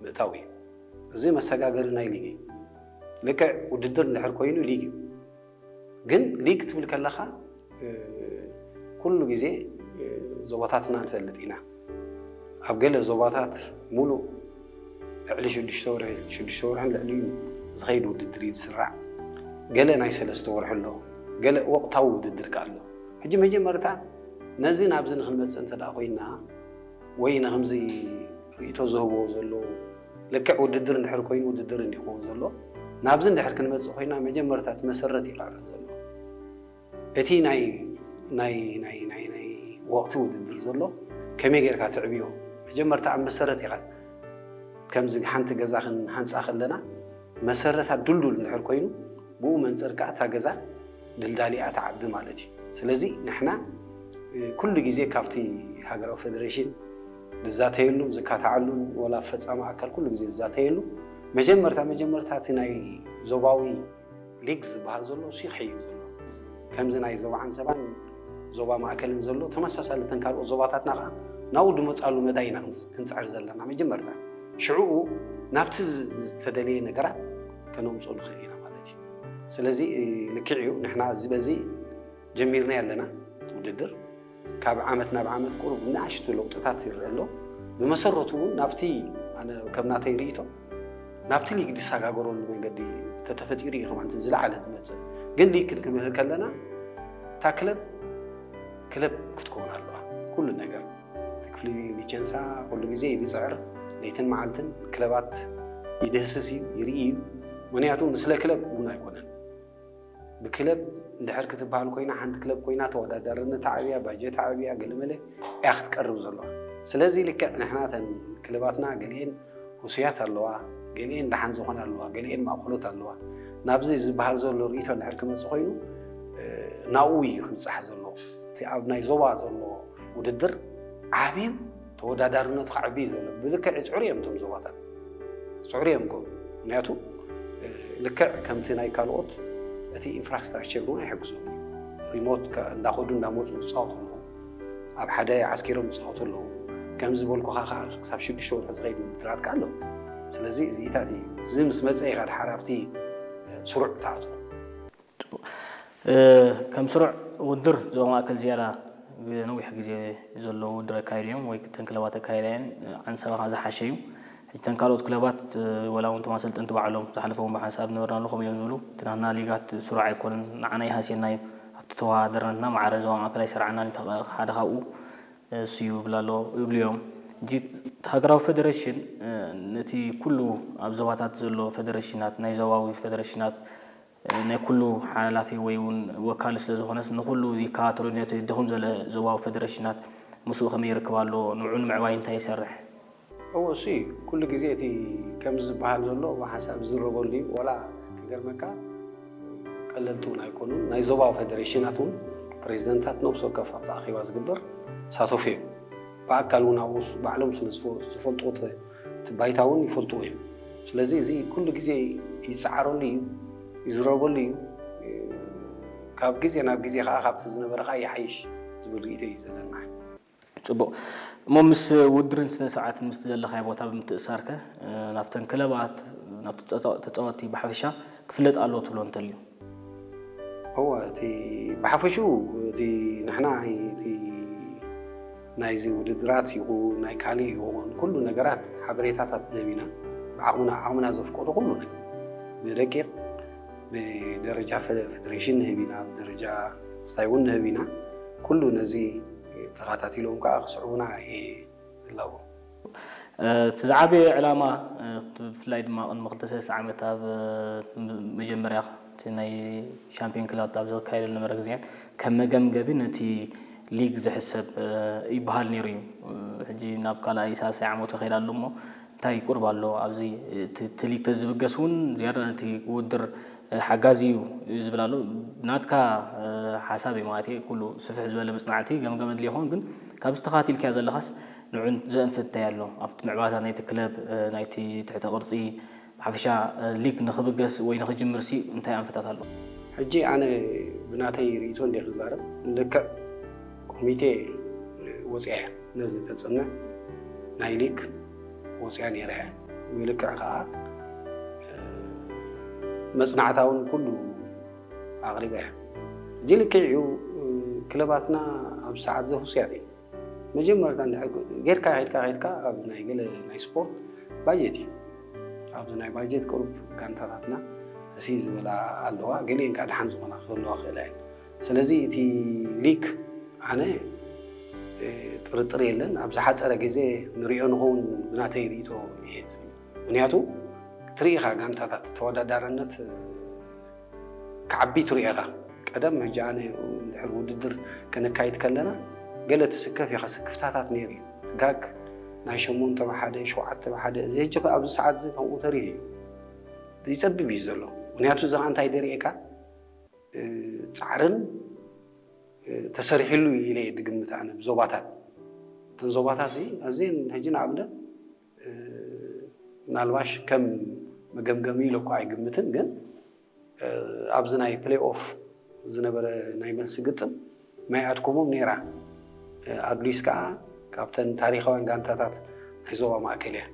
ምእታው እዩ። እዚ መሰጋገሪ ናይ ሊግ እዩ። ልክዕ ውድድር እንድሕር ኮይኑ ሊግ እዩ። ግን ሊግ ትብል ከለኻ ኩሉ ግዜ ዞባታትና ንፈልጥ ኢና። ኣብ ገለ ዞባታት ሙሉእ ልዕሊ ሽዱሽተ ወርሒ ሽዱሽተ ወርሕን ልዕሊኡ ዝኸይድ ውድድር እዩ ዝስራዕ። ገለ ናይ ሰለስተ ወርሒ ኣሎ፣ ገለ ወቕታዊ ውድድር ከ ኣሎ። ሕጂ መጀመርታ ነዚ ናብዚ ንክንመፅእ እንተ ደኣ ኮይና ወይ ንከምዚ ርእይቶ ዝህብዎ ዘለዉ ልክዕ ውድድር እንድሕር ኮይኑ ውድድር እንዲኸውን ዘሎ ናብዚ እንድሕር ክንመፅእ ኮይና መጀመርታ እቲ መሰረት ይቃረፅ ዘሎ እቲ ናይ ናይ ናይ ናይ ናይ ወቕቲ ውድድር ዘሎ ከመይ ጌርካ ትዕብዮ መጀመርታ ኣብ መሰረት ኢኻ ከምዚ ሓንቲ ገዛ ክንሃንፃ ከለና መሰረታ ድልዱል እንድሕር ኮይኑ ብኡ መንፅር ከዓ እታ ገዛ ድልዳሊኣ ትዓቢ ማለት እዩ ስለዚ ንሕና ኩሉ ግዜ ካብቲ ሃገራዊ ፌደሬሽን ዝዛተየሉ ዝካታዓሉን ወላ ፈፃሚ ኣካል ኩሉ ግዜ ዝዛተየሉ መጀመርታ መጀመርታ እቲ ናይ ዞባዊ ሊግ ዝበሃል ዘሎ እሱ ይኸይድ ዘሎ ከምዚ ናይ ዞባ ዓንሰባን ዞባ ማእከልን ዘሎ ተመሳሳሊ ተን ካልኦት ዞባታትና ከዓ ናብኡ ድመፃሉ መዳይ ኢና ክንፅዕር ዘለና መጀመርታ ሽዕኡ ናብቲ ዝተደለየ ነገራት ከነምፅኡ ንኽእል ኢና ማለት እዩ ስለዚ ልክዕ እዩ ንሕና እዚ በዚ ጀሚርና ኣለና ውድድር ካብ ዓመት ናብ ዓመት ቁሩብ ንኣሽቱ ለውጥታት ይረአ ኣሎ ብመሰረቱ እውን ናብቲ ከም ናተይ ርእቶ ናብቲ ሊግ ዝሰጋገረሉ መንገዲ ተተፈጢሩ እዩ ከማንቲ ዝለዓለ ዝመፅእ ግን ሊግ ክንክብል ከለና እታ ክለብ ክለብ ክትከውን ኣለዋ ኩሉ ነገር ክፍሊ ሊቸንሳ ኩሉ ግዜ ይድፅዕር ለይትን መዓልትን ክለባት ይድህስስ እዩ ይርኢ እዩ ምክንያቱ ምስለ ክለብ እውን ኣይኮነን ብክለብ እንድሕር ክትበሃል ኮይና ሓንቲ ክለብ ኮይና ተወዳዳርነት ዓብያ ባጀት ዓብያ ገለመለ እያ ክትቀርብ ዘለዋ ስለዚ ልክዕ ንሕና ተን ክለባትና ገሊኤን ህሱያት ኣለዋ ገሊኤን ደሓን ዝኾነ ኣለዋ ገሊኤን ማእኮሎት ኣለዋ ናብዚ ዝበሃል ዘሎ ርእቶ እንድሕር ክመፅእ ኮይኑ ናብኡ እዩ ክብፃሕ ዘለዎ እቲ ኣብ ናይ ዞባ ዘሎ ውድድር ዓብዩ ተወዳዳርነቱ ከዕቢ እዩ ዘሎ ብልክዕ ይፅዕሩ እዮም እቶም ዞባታት ይፅዕሩ እዮም ጎ ምክንያቱ ልክዕ ከምቲ ናይ ካልኦት እቲ ኢንፍራስትራክቸር እውን ኣይሕግዞም ሪሞት እንዳኸዱ እንዳመፁ ዝፃወቱ ኣለዉ ኣብ ሓደ ዓስኪሮም ዝፃወቱ ኣለዉ ከም ዝበልኩኻ ከዓ ክሳብ ሽዱሽተ ወርሒ ዝኸይድ ውድድራት ከዓ ኣለዉ ስለዚ እዚኢታት እዩ እዚ ምስ መፀ ኢኻ ድሓር ኣብቲ ስሩዕ ትኣትዎ ከም ስሩዕ ውድድር ዞባ ማእከል ዝያዳ ነዊሕ ግዜ ዘለዉ ውድድር ኣካይዱ እዮም ወይ ተን ክለባት ኣካይዳ እየን ዓንሰባ ከዓ ዝሓሸ እዩ ሕጂ ተን ካልኦት ክለባት ወላ እውን ተማሰልጠንቲ ባዕሎም ዝሓለፈ እውን ብሓንሳብ ነበርና ኣለኹም እዮም ዝብሉ እቲ ናትና ሊጋት ስሩዕ ኣይኮነን ንዓና ይሃስየና እዩ ኣብቲ ተወዳደርነትና ማዕረ ዞባ ማእከል ኣይሰራዕናን ሓደ ካብኡ እሱ እዩ ይብሉ ኣሎ ይብሉ እዮም ሕጂ ሃገራዊ ፌደሬሽን ነቲ ኩሉ ኣብ ዞባታት ዘሎ ፌደሬሽናት ናይ ዞባዊ ፌደሬሽናት ናይ ኩሉ ሓላፊ ወይ እውን ወካሊ ስለ ዝኾነስ ንኩሉ ይከታተሎ ነቲ ድኹም ዘለ ዞባዊ ፌደሬሽናት ምስኡ ከመይ ይርክብ ኣሎ ንዑ ንምዕባይ እንታይ ይሰርሕ እወ እሱ እዩ ኩሉ ግዜ እቲ ከምዚ ዝበሃል ዘሎ ሓሳብ ዝረበሉ እዩ ወላ ክገርመካ ቀለልቲ እውን ኣይኮኑን ናይ ዞባዊ ፌደሬሽናት እውን ፕሬዚደንታት ነብሲ ወከፍ ኣብቲ ኣኼባ ዝግበር ሳተፉ እዮም ብኣካል እውን ኣብኡ ባዕሎም ስለ ዝፈልጡ እቲ ባይታ እውን ይፈልጥዎ እዮም ስለዚ እዚ ኩሉ ግዜ ይፀዓረሉ እዩ ይዝረበሉ እዩ ካብ ግዜ ናብ ግዜ ከዓ ካብቲ ዝነበረ ከዓ ይሓይሽ ዝብል ርእቶ እዩ ዘለና ፅቡቕ እሞ ምስ ውድርን ስነ ስርዓትን ምስቲ ዘለኻዮ ቦታ ብምትእሳር ከ ናብተን ክለባት ናብቲ ተፃወትቲ ብሓፈሻ ክፍለጥ ኣለዎ ትብሎ እንተልዩ እወ እቲ ብሓፈሽኡ እቲ ንሕና እቲ ናይዚ ውድድራት ይኹን ናይ ካሊእ ይኹን ኩሉ ነገራት ሓበሬታታት ንህብ ኢና ብዓቕምና ዓቕምና ዘፍቀዶ ኩሉ ነገር ብደቂቕ ብደረጃ ፌደሬሽን ንህብ ኢና ብደረጃ ስታይ እውን ንህብ ኢና ኩሉ ነዚ ተኸታቲሎም ከዓ ክስዕቡና እየ ዝላቦ እቲ ዝዓበየ ዕላማ ብፍላይ ድማ ቅድሚ ክልተ ሰለስተ ዓመት ኣብ መጀመርያ ናይ ሻምፒዮን ክለባት ኣብ ዘካየደ ዝነበረ ግዜን ከም መገምገቢ ነቲ ሊግ ዝሕሰብ ይበሃል ነይሩ እዩ ሕጂ ናብ ካልኣይ ሳልሳይ ዓመቱ ይኸይድ ኣሎ እሞ እንታይ ቁርብ ኣሎ ኣብዚ እቲ ሊግ ተዝብገስ እውን ዝያዳ ነቲ ውድድር ሓጋዚ እዩ ዝብል ኣሎ ናትካ ሓሳብ እዩ ማለት ኩሉ ስፍሕ ዝበለ መፅናዕቲ ገምገም ኣድልዮ ይኸውን ግን ካብዚ ተኻቲልካዮ ዘለኻስ ንዑ ዘእንፍት እንታይ ኣሎ ኣብቲ ምዕባታ ናይቲ ክለብ ናይቲ ትሕተ ቅርፂ ብሓፈሻ ሊግ ንኽብገስ ወይ ንኽጅምር ሲ እንታይ ኣንፈታት ኣሎ ሕጂ ኣነ ብናተይ ርእቶ እንደ ክዛረብ ልክዕ ኮሚቴ ወፅያ ነዚ ተፅንዕ ናይ ሊግ ወፅያ ነይራ እያ ብልክዕ ከዓ መፅናዕታ እውን ኩሉ ኣቕሪበ እያ። እዚ ልክዕ እዩ። ክለባትና ኣብ ሰዓት ዘፍሱያት እዩ። መጀመርታ ጌርካ ሄድካ ሄድካ ኣብ ናይ ገለ ናይ ስፖርት ባጀት እዩ። ኣብዚ ናይ ባጀት ቅሩብ ጋንታታትና እሲ ዝበላ ኣለዋ፣ ገሊአን ከዓ ደሓን ዝኾና ክህልዋ ክእላ እየን። ስለዚ እቲ ሊግ ኣነ ጥርጥር የለን ኣብ ዝሓፀረ ግዜ ንሪኦ ንኸውን ብናተይ ርእቶ እየ ዝብል። ምክንያቱ ትርኢ ኢኻ ጋንታታት ተወዳዳርነት ክዓቢ ትርኢ ኢኻ። ቀደም ሕጂ ኣነ ድሕሪ ውድድር ከነካይድ ከለና ገለ ትስከፍ ኢኻ፣ ስክፍታታት ነይሩ እዩ። ጋግ ናይ ሸሞንተ ብሓደ ሸውዓተ ብሓደ እዚ ሕጂ ኣብዚ ሰዓት እዚ ከምኡ ተሪሩ እዩ ይፀብብ እዩ ዘሎ። ምክንያቱ እዚ ከዓ እንታይ ደርእየካ ፃዕርን ተሰሪሕሉ ኢለ ድግምት ኣነ ብዞባታት እተን ዞባታት ሲ ኣዝን ሕጂ ንኣብነት ምናልባሽ ከም መገምገሚ ኢለ እኳ ኣይግምትን፣ ግን ኣብዚ ናይ ፕሌይ ኦፍ ዝነበረ ናይ መልሲ ግጥም ማይ ኣድኮሞም ነይራ። ኣድሊስ ከዓ ካብተን ታሪኻውያን ጋንታታት ናይ ዞባ ማእከል እያ።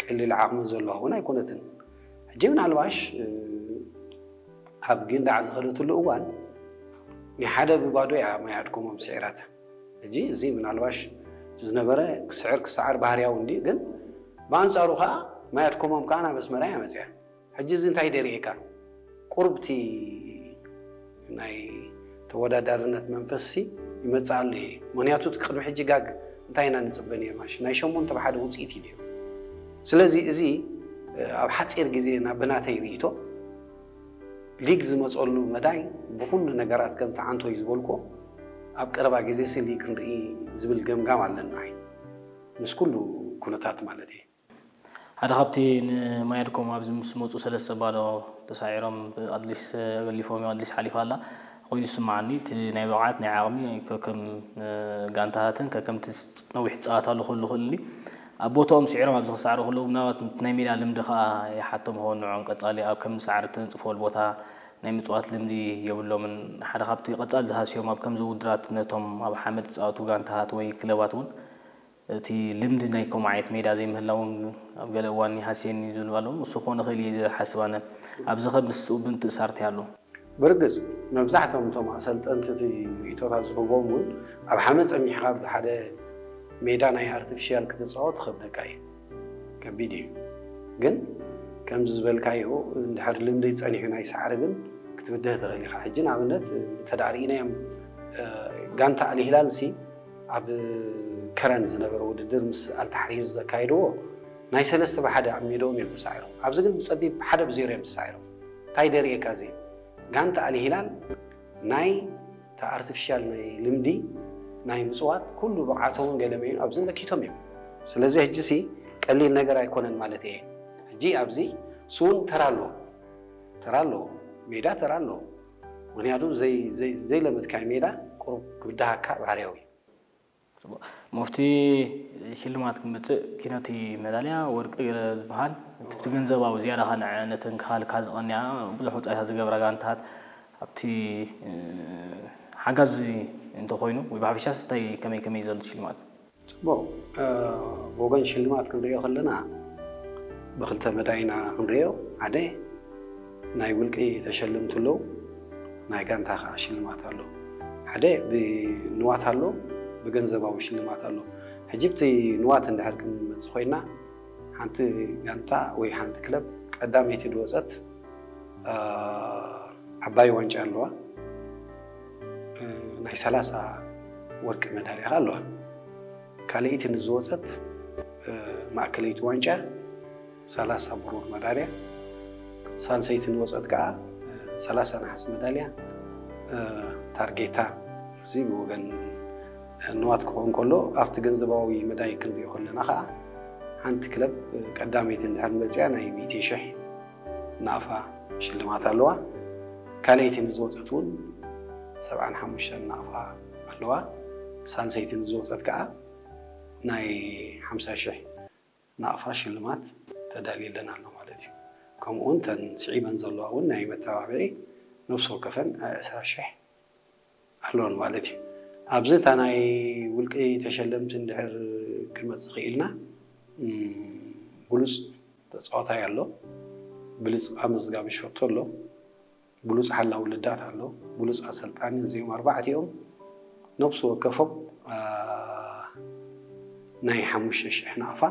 ቀሊል ዓቕሚ ዘለዋ እውን ኣይኮነትን። ሕጂ ምናልባሽ ኣብ ጊንዳዕ ዝኸደትሉ እዋን ናይ ሓደ ብባዶ እያ ማይ ኣድኮሞም ስዒራታ። ሕጂ እዚ ምናልባሽ ዝነበረ ክስዕር ክሰዓር ባህርያዊ እንዲ፣ ግን ብኣንጻሩ ከዓ ማይ ኣድኮሞም ከዓ ናብ ኣስመራ እያ መፅያ። ሕጂ እዚ እንታይ ደርእየካ? ቁርብቲ ናይ ተወዳዳርነት መንፈስሲ ይመፅእ ኣሎ እዩ። ምክንያቱ እቲ ቅድሚ ሕጂ ጋግ እንታይ ኢና ንፅበ ነርና? ናይ ሸሞንተ ብሓደ ውፅኢት እዩ ነይሩ። ስለዚ እዚ ኣብ ሓፂር ግዜ ናብ ብናተይ ርእይቶ ሊግ ዝመፀሉ መዳይ ብኩሉ ነገራት ከም ተዓንቶ እዩ ዝበልኮ ኣብ ቀረባ ግዜ ሲ ሊግ ንርኢ ዝብል ገምጋም ኣለና። ምስ ኩሉ ኩነታት ማለት እዩ። ሓደ ካብቲ ንማየድኮም ኣብዚ ምስ መፁ ሰለስተ ባዶ ተሳዒሮም ኣድሊስ ኣገሊፎም እዮም ኣድሊስ ሓሊፋ ኣላ ኮይኑ ዝስማዓኒ እቲ ናይ ብቕዓት ናይ ዓቕሚ ከከም ጋንታታትን ከከምቲ ነዊሕ ፃወታ ኣሎ ክህሉ ክእል ኣብ ቦታኦም ስዒሮም ኣብዚ ክሳዕሩ ከለዉ ምናልባት ናይ ሜዳ ልምዲ ከዓ ይሓቶም ኸውን ንዕኦም ቀፃሊ ኣብ ከም ሳዕሪ ተንፅፎል ቦታ ናይ ምፅዋት ልምዲ የብሎምን ሓደ ካብቲ ቀፃሊ ዝሃስዮም ኣብ ከምዚ ውድራት ነቶም ኣብ ሓመድ ዝፃወቱ ጋንታታት ወይ ክለባት እውን እቲ ልምዲ ናይ ከምኡ ዓይነት ሜዳ ዘይምህላውን ኣብ ገለ እዋን ይሃስየኒ ዝብል ኣሎ። እሱ ክኾን ይኽእል እየ ዝሓስብ ኣነ። ኣብዚ ኸ ምስኡ ብምትእሳር እንታይ ኣሎ? ብርግጽ መብዛሕትኦም እቶም ኣሰልጠንቲ እቲ ርእይቶታት ዝህቦም እውን ኣብ ሓመድ ጸሚሕኻ ብሓደ ሜዳ ናይ ኣርቲፊሻል ክትጻወት ክኸብደካ እዩ። ከቢድ እዩ። ግን ከምዚ ዝበልካዮ እንድሕር ልምዲ ጸኒሑ ናይ ሳዕሪ ግን ክትብድህ ትኽእል ኢኻ። ሕጂ ንኣብነት እንተ ደኣ ርኢናዮም ጋንታ ኣልሂላል ሲ ኣብ ከረን ዝነበረ ውድድር ምስ ኣልታሕሪር ዘካየድዎ ናይ ሰለስተ ብሓደ ኣብ ሜድኦም እዮም ተሳዒሮም። ኣብዚ ግን ብጸቢብ ሓደ ብዜሮ እዮም ተሳዒሮም። እንታይ ደርእየካ እዚ? ጋንታ ኣልሂላል ናይ ኣርቲፊሻል ናይ ልምዲ ናይ ምፅዋት ኩሉ ብቕዓቶምን ገለመዩን ኣብዚ መኪቶም እዮም። ስለዚ ሕጂ ሲ ቀሊል ነገር ኣይኮነን ማለት እየ። ሕጂ ኣብዚ ስውን ተራ ኣለዎ፣ ተራ ኣለዎ፣ ሜዳ ተራ ኣለዎ። ምክንያቱ ዘይለመድካይ ሜዳ ቁሩብ ክብድሃካ ባህርያዊ እዩ። ሙፍቲ ሽልማት ክመፅእ ኪኖቲ መዳልያ ወርቂ ዝበሃል እቲ ገንዘባዊ ዝያዳ ከነዐ ነተን ክኻልካ ዝቐንያ ብዙሕ ወፃኢታት ዝገብራ ጋንታት ኣብቲ ሓጋዚ እንተኮይኑ ወይ ብሓፈሻስ እንታይ ከመይ ከመይ ዘሎ ሽልማት? ፅቡቅ ብወገን ሽልማት ክንሪኦ ከለና ብክልተ መዳይና ክንሪኦ ሓደ ናይ ውልቂ ተሸልምቲ ኣለዉ ናይ ጋንታ ከዓ ሽልማት ኣሎ ሓደ ብንዋት ኣሎ ብገንዘባዊ ሽልማት ኣሎ ሕጂ ብቲ ንዋት እንድሕር ክንመፅ ኮይና ሓንቲ ጋንታ ወይ ሓንቲ ክለብ ቀዳመይቲ ድወፀት ዓባይ ዋንጫ ኣለዋ ናይ ሰላሳ ወርቂ መዳልያ ኣለዋ ካልኣይቲ ንዝወፀት ማእከለይቲ ዋንጫ ሰላሳ ብሩር መዳልያ ሳልሰይቲ ንወፀት ከዓ ሰላሳ ነሓስ መዳልያ ታርጌታ እዚ ብወገን ንዋት ክኸውን ከሎ ኣብቲ ገንዘባዊ መዳይ ክንሪኦ ከለና ከዓ ሓንቲ ክለብ ቀዳመይቲ እንድሕር መፅያ ናይ ሚእቲ ሽሕ ናቕፋ ሽልማት ኣለዋ ካልኣይቲ ንዝወፀት እውን ሰብዓን ሓሙሽተን ናቕፋ ኣለዋ ሳልሰይቲ ንዝወፀት ከዓ ናይ ሓምሳ ሽሕ ናቕፋ ሽልማት ተዳልየለን ኣሎ ማለት እዩ። ከምኡ እውን ተን ስዒበን ዘለዋ እውን ናይ መተባብዒ ነብሲ ወከፈን ዕስራ ሽሕ ኣለወን ማለት እዩ። ኣብዚ እታ ናይ ውልቂ ተሸለምቲ እንድሕር ክመፅእ ክኢልና ብሉፅ ተፃዋታይ ኣሎ፣ ብሉፅ ኣመዝጋቢ ሸቶ ኣሎ፣ ብሉፅ ሓላዊ ልዳት ኣሎ፣ ብሉፅ ኣሰልጣኒ። እዚኦም ኣርባዕቲኦም ነብሲ ወከፎም ናይ ሓሙሽተ ሽሕ ናቕፋ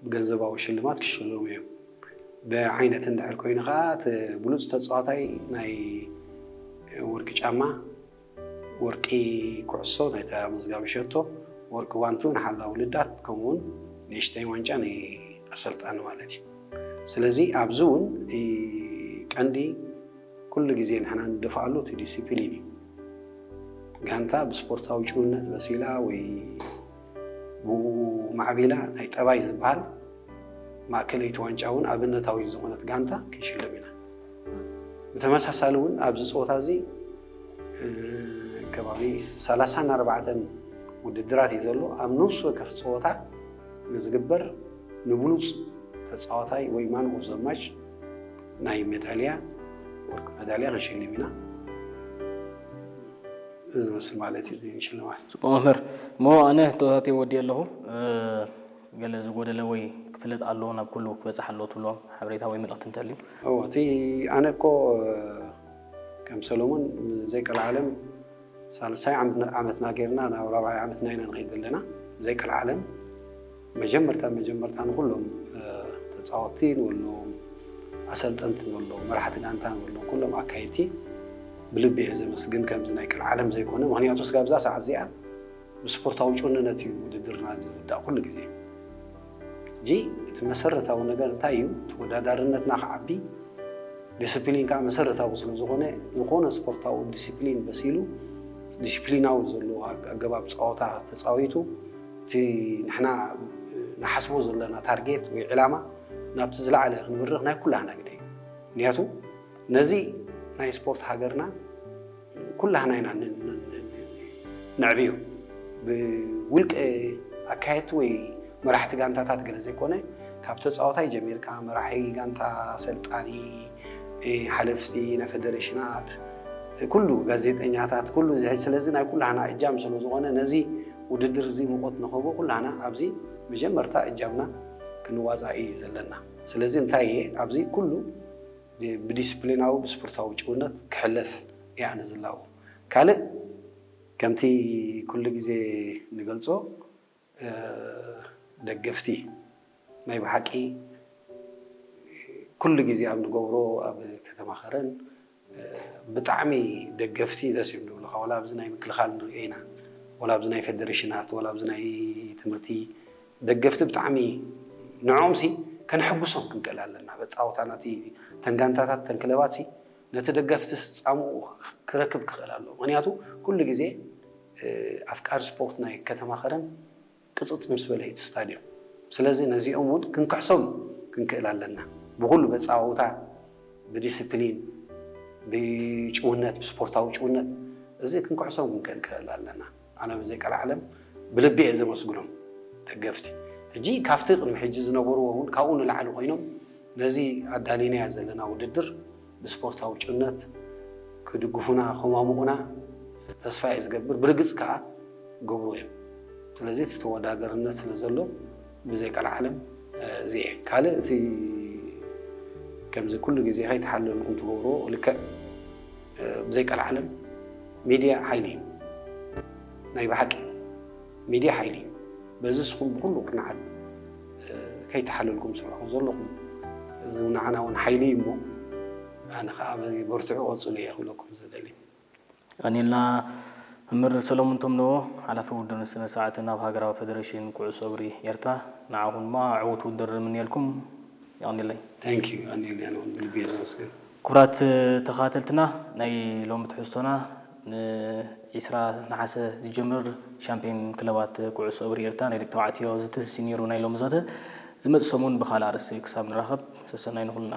ብገንዘባዊ ሽልማት ክሽለሙ እዮም። ብዓይነት እንድሕር ኮይኑ ከዓ እቲ ብሉፅ ተፃዋታይ ናይ ወርቂ ጫማ፣ ወርቂ ኩዕሶ ናይታ መዝጋቢ ሸቶ፣ ወርቂ ጓንቱ ንሓላዊ ልዳት፣ ከምኡውን ንእሽተይ ዋንጫ ንኣሰልጣኒ ማለት እዩ። ስለዚ ኣብዚ እውን እቲ ቀንዲ ኩሉ ግዜ ንሕና ንደፍኣሉ እቲ ዲሲፕሊን እዩ። ጋንታ ብስፖርታዊ ጭውነት በሲላ ወይ ብኡ ማዕቢላ ናይ ጠባይ ዝበሃል ማእከለይቲ ዋንጫ እውን ኣብነታዊ ዝኾነት ጋንታ ክንሽልም ኢና። ብተመሳሳሊ እውን ኣብዚ ፀወታ እዚ ከባቢ ሰላሳን ኣርባዕተን ውድድራት እዩ ዘሎ። ኣብ ነፍሲ ወከፍ ፀወታ ንዝግበር ንብሉፅ ተፃዋታይ ወይ ማን ኦፍ ዘ ማች ናይ ሜዳልያ፣ ወርቂ ሜዳልያ ክንሽልም ኢና። እዚ ዝመስል ማለት እዩ ሽልማት። ፅቡቅ መምህር፣ እሞ ኣነ ህቶታተይ ወዲእ ኣለኹ። ገለ ዝጎደለ ወይ ክፍለጥ ኣለዎ ናብ ኩሉ ክበፅሕ ኣለዎ ትብሎም ሓበሬታ ወይ መልእክቲ እንተልዩ? እዎ፣ እቲ ኣነ እኮ ከም ሰሎሞን ዘይቀልዓለም ሳልሳይ ዓመትና ጌርና ናብ ራብዓይ ዓመትና ኢና ንኸይድ ዘለና። ዘይቀልዓለም መጀመርታ መጀመርታ ንኩሎም ተፃወትቲ ንበሎም፣ ኣሰልጠንቲ ንበሎም፣ መራሕቲ ጋንታ ንበሎም፣ ኩሎም ኣካየድቲ ብልቢ እየ ዘመስግን። ከምዚ ናይ ቀልዓለም ዘይኮነ፣ ምክንያቱ ስጋብ እዛ ሰዓት እዚኣ ብስፖርታዊ ጭውንነት እዩ ውድድርና ዝውዳእ ኩሉ ግዜ። ሕጂ እቲ መሰረታዊ ነገር እንታይ እዩ? ተወዳዳርነትና ክዓቢ፣ ዲስፕሊን ከዓ መሰረታዊ ስለ ዝኾነ፣ ዝኾነ ስፖርታዊ ዲስፕሊን በሲሉ፣ ዲስፕሊናዊ ዘለዎ ኣገባብ ፀወታ ተፃዊቱ፣ እቲ ንሕና ንሓስቦ ዘለና ታርጌት ወይ ዕላማ ናብቲ ዝለዓለ ክንብርኽ ናይ ኩላህና ግደ እዩ። ምክንያቱ ነዚ ናይ ስፖርት ሃገርና ኩላህና ኢና ነዕብዮ። ብውልቀ ኣካየድቲ ወይ መራሕቲ ጋንታታት ገለ ዘይኮነ፣ ካብ ተፃዋታይ ጀሚርካ፣ መራሒ ጋንታ፣ ኣሰልጣኒ፣ ሓለፍቲ ናይ ፌደሬሽናት፣ ኩሉ ጋዜጠኛታት፣ ኩሉ እዚ ሕጂ ስለዚ ናይ ኩላህና እጃም ስለ ዝኾነ ነዚ ውድድር እዚ ሙቐት ንኽህቦ ኩላህና ኣብዚ መጀመርታ እጃምና ክንዋፃእ እዩ ዘለና። ስለዚ እንታይ እየ ኣብዚ ኩሉ ብዲስፕሊናዊ ብስፖርታዊ ጭውነት ክሕለፍ እየ ኣነ ዝላቦ። ካልእ ከምቲ ኩሉ ግዜ ንገልፆ ደገፍቲ ናይ ብሓቂ ኩሉ ግዜ ኣብ ንገብሮ ኣብ ከተማ ከረን ብጣዕሚ ደገፍቲ ደስ እዮም ዝብሉካ። ወላ ኣብዚ ናይ ምክልኻል ንሪኦ ኢና፣ ወላ ኣብዚ ናይ ፌደሬሽናት፣ ወላ ኣብዚ ናይ ትምህርቲ ደገፍቲ ብጣዕሚ ንዕኦም ሲ ከነሐጉሶም ክንክእል ኣለና። በፃወታና እቲ ተን ጋንታታት ተን ክለባት ሲ ነቲ ደገፍቲ ፃምኡ ክረክብ ክኽእል ኣለዎ። ምክንያቱ ኩሉ ግዜ ኣፍቃሪ ስፖርት ናይ ከተማ ከረን ቅፅፅ ምስ በለ እቲ ስታድዮም። ስለዚ ነዚኦም እውን ክንክሕሶም ክንክእል ኣለና። ብኩሉ በፃወታ፣ ብዲስፕሊን፣ ብጭውነት፣ ብስፖርታዊ ጭውነት እዚ ክንክሕሶም ክንክእል ኣለና። ኣነ ብዘይ ቀልዓለም ብልቢ እየ ዘመስግኖም ደገፍቲ። ሕጂ ካብቲ ቅድሚ ሕጂ ዝነበርዎ እውን ካብኡ ንላዕሊ ኮይኖም ነዚ ኣዳሊናያ ዘለና ውድድር ብስፖርታዊ ጭውነት ክድግፉና ከማሙቑና ተስፋ እየ ዝገብር። ብርግፅ ከዓ ገብሩ እዮም። ስለዚ እቲ ተወዳደርነት ስለ ዘሎ ብዘይ ቀልዓለም እዚ እየ። ካልእ እቲ ከምዚ ኩሉ ግዜ ከይተሓለልኩም ትገብርዎ ልክዕ ብዘይ ቀልዓለም ሚድያ ሓይሊ እዩ። ናይ ብሓቂ ሚድያ ሓይሊ እዩ። በዚ ንስኹም ብኩሉ ቅንዓት ከይተሓለልኩም ትሰርሑ ዘለኹም እዚ ንዓና እውን ሓይሊ እዩ እሞ ኣነ ከዓ በርትዑ ቀፅሉ እየ ክብለኩም ዝደሊ። ኣኒልና መምህር ሰሎሙን ተምነዎ ሓላፊ ውድድርን ስነ ስርዓትን ኣብ ሃገራዊ ፌደሬሽን ኩዕሶ እግሪ ኤርትራ ንዓኹም ድማ ዕዉት ውድድር ንምንየልኩም። የቐንየለይ። Thank you ኣኒልና እውን ብልቢ እየ ዘመስግን። ክቡራት ተኸታተልትና ናይ ሎሚ ትሕዝቶና ንዒስራ ነሓሰ ዝጀምር ሻምፒዮን ክለባት ኩዕሶ እግሪ ኤርትራ ናይ ደቂ ተባዕትዮ ዝትንሲ ነይሩ ናይ ሎሚ ዘተ። ዝመጽእ ሰሙን ብኻልእ ኣርእስቲ ክሳብ ንራኸብ ሰሰናይ ንኹልና።